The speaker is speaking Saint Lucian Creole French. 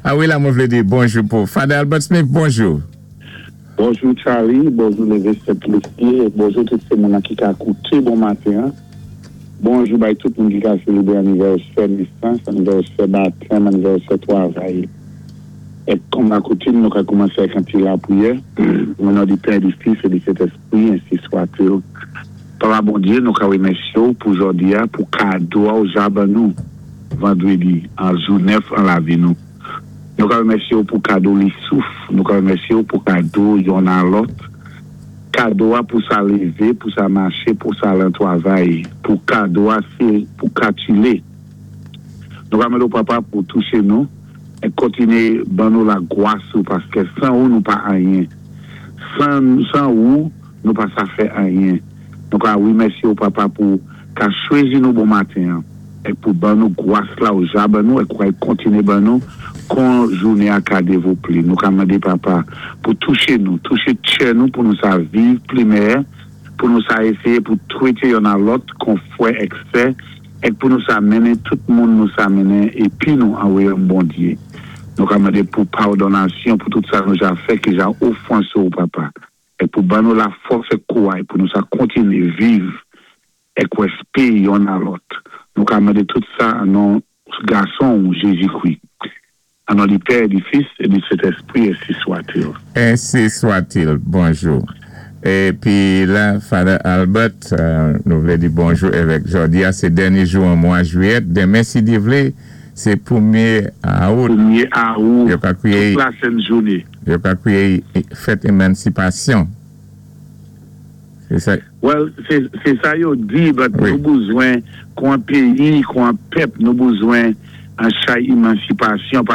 A wi, la mwen vlé di bonjou pou Father Albert Smith, bonjou. Bonjou Charlie, bonjou Lévesque Saint-Plessier, bonjou tout sé moun ki ka kouté bon maten. Bonjou bay tout moun ki ka sélébré anivèsè nésans, anivèsè batèm, anivèsè twavay. É kòm lakoutim, nou ka koumansé avèk an ti lapriyè. O non di Pè, di Fis é di Sentéspri, ensi swa-t-il. Papa Bondyé, nou ka wémèsyé ou pou jòdi a, pou kado a ou ja ban nou vandrédi an jou nèf an lavi nou. Nou ka wémèsyé ou pou kado li souf, nou ka wémèsyé ou pou kado yonn a lòt, kado a pou sa lévé, pou sa maché, pou sa al an twavay, pou kado a sé pou katilé. Nou ka mandé ou, Papa, pou touché nou é kontiné ban nou lagwas ou paské san ou nou pa anyen. San ou nou pa sa fè anyen. Nou ka wémèsyé ou, Papa, pou ka chwézi nou bon maten é pou ban nou gwas la ou ja ban nou é pou kontiné ban nou kon jouné a ka dévlopé. Nou ka mandé, Papa, pou touché nou, touché tchè nou pou nou sa viv pli mèyè, pou nou sa éséyé pou twété yonn a lòt kon fwè èk sè, é pou nou sa mennen tout moun nou sa mennen épi nou an wayòm Bondyé. Nou ka mandé pou padonnasyon pou tout sa nou ja fè ki ja ofansé ou, Papa, é pou ban nou lafòs é kouway pou nou sa kontiné viv èk wèspé yonn a lòt. Nou ka mandé tout sa an non gason ou Jézi-Kwi. An non di Pè, di Fis é di Sentéspri, ensi swa-t-il. Ensi swa-t-il. Bonjou. Épi la, Father Albert, nou vlé di bonjou avèk jòdi a, sé dènyé jou an mwa jwiyèt. Denmen, si Dye vlé, sé pwémyé awout. Pwémyé awout, Yo ka kwiyé tout la sen jouné. Yo ka kwiyé fèt émansipasyon. Sé sa. Well, sé sa yo di, but nou bezwen, kon péyi, kon pèp, nou bezwen an chay émansipasyon.